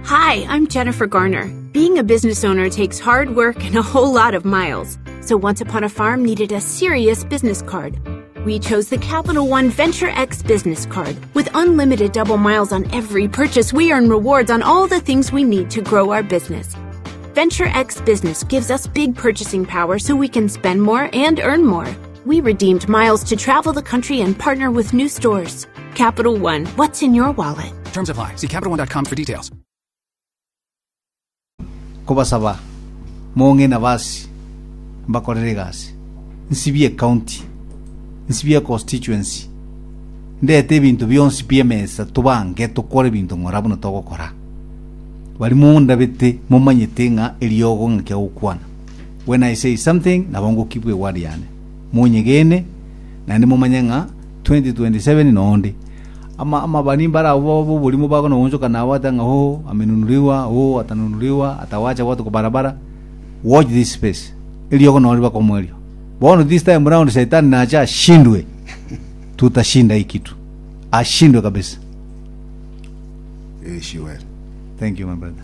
Hi, I'm Jennifer Garner. Being a business owner takes hard work and a whole lot of miles. So Once Upon a Farm needed a serious business card. We chose the Capital One Venture X business card. With unlimited double miles on every purchase, we earn rewards on all the things we need to grow our business. Venture X Business gives us big purchasing power so we can spend more and earn more. We redeemed miles to travel the country and partner with new stores. Capital One, what's in your wallet? Terms apply. See CapitalOne.com for details. Kobasaba mong'e nabasi mbakorere egasi, nsibie ecounty, nsibie econstituency, ndete ebinto bionsi pi emesa tobange tokore ebinto ng'ora buna togokora. Baria mondabete momanyete ng'a eriogo ng'aki agokwana. When I say something nabo ngokibwa eword yane. Monyegene naende momanye ng'a 2027 nonde. Ama amabani mbare abwo b'oborimo bakona goonchoka nabo bateba ng'a oo amenunuliwa, oo atanunuliwa, atawacha watu kwa barabara. Watch this space. Eriogo noro riba komoerio. Bono this time round Shetani nache ashindwe. Tutashinda hii kitu. Ashindwe kabisa. Ishiwere. Thank you my brother.